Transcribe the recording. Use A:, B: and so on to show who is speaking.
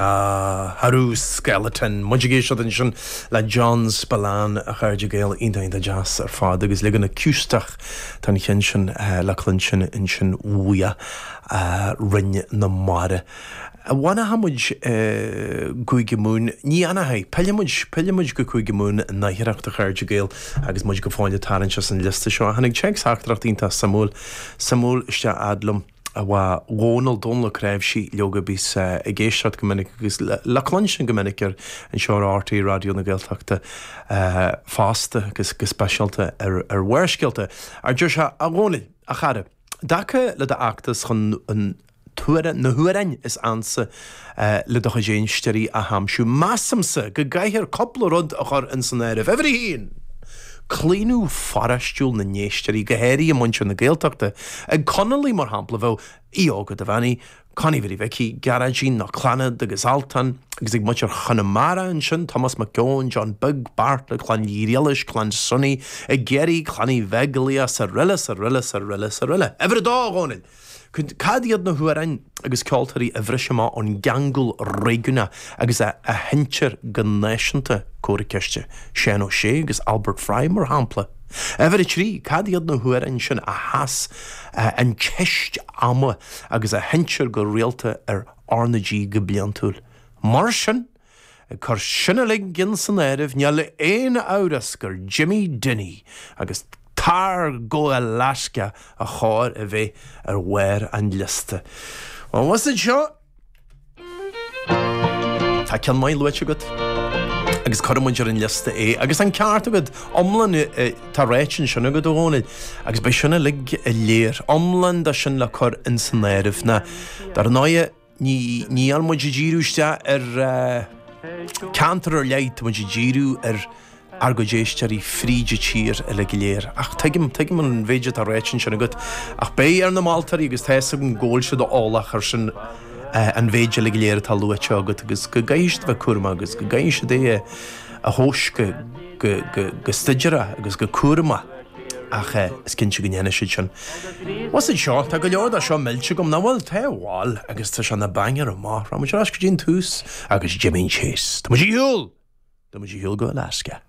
A: Ah, Haru Skeleton. Muid ag éisteacht ansin le John Spillane, a chairde Gael, iontach iontach deas ar fad agus leagan acústach den cheann sin le cluinstin ansin uaidh Rinn na Mara. An bhfanfaidh muid i gCúige Mumhan? Ní fhanfaidh. Pillfidh muid, pillfidh muid go Cúige Mumhan láithreach, a chairde Gael, agus muid go fóill ag tarraingt as an liosta seo. Tháinig téacs-theachtaireacht iontach suimiúil, suimiúil isteach fhad liom. Ó Dhónal, Dónal Ó Cnáimhsí, leoga a bíos ag éisteacht go minic agus le cluinstin go minic ar anseo ar RTÉ Raidió na Gaeltachta fosta agus go speisialta ar ar Bharrscéalta. Ar deir sé, A Dhónaill, a chara, i dtaca le d'fheachtas chun an na hamhráin is ansa le do chuid éisteoirí a aimsiú, measaimse go gcaithfear cúpla rud a chur ins an áireamh. Uimhir a haon! Claonadh pharáistiúil na n-éisteoirí, go háirithe muintir na Gaeltachta. Ag Conallaigh, mar shampla, bheadh Aodh Óg Ó Duibheannaigh, Connie Mhary Mhicí, Gearóidín nó Clannad agus Altan, agus ag muintir Chonamara ansin, Tomás Mac Eoin, John Beag, Beairtle, Clann Uí Ghriallais, Clann Sonny, i gCiarraí, Clann Uí Bheaglaoich, 's araile, 's araile, 's araile, 's araile. Uimhir a dó, a Dhónaill! Cad iad na hamhráin agus ceoltóirí a bhris amach ón gceangal réigiúnach agus a sheinntear go náisiúnta, comhartha ceiste? Seán Ó Sé agus Albert Fry, mar shampla. Uimhir a 3, Cad iad na hamhráin sin a sheas an teist ama agus a sheinntear go rialta ar RnaG go bliantúil? Mar sin, Ag cur sin uilig ins an áireamh, níl aon amhras gur Jimmy Dinny agus Tar go Alaska a chóir a bheith ar bharr an liosta. Bhuel, bhfuil fhios seo? Tá ceann maith luaite agat agus cuirfidh muid ar an liosta é. Agus an ceart agat, iomlán tá ráite ansin agat, a Dhónaill, agus beidh sin uilig léir. Iomlán de sin le cur ins an áireamh. Ná, dar ndóighe, Ní, níl muid ag díriú isteach ar ceantar ar leith, tá muid ag díriú ar ár gcuid éisteoirí fríd an tír uilig go léir. Ach tuigim, tuigim an mhéid atá ráite ansin agat. Ach beidh ar na moltóirí agus tá fhios agam go bhfuil siad eolach ar sin an mhéid uilig go léir atá luaite agat agus go gcaithfidh siad a bheith cúramach agus go gcaithfidh siad é a thomhas go, go, go, go staidiúrach agus go cúramach. Ach is cinnte go ndéanfaidh siad sin. Bhfuil fhios seo, tá go leor de seo millte agam, nach bhfuil? Tá, bhuel, agus tá sé ina banger amach. Rachaidh muid ar ais go dtí an tús agus Jimín Chase. Tá muid ar shiúl! Tá muid ar shiúl go Alaska.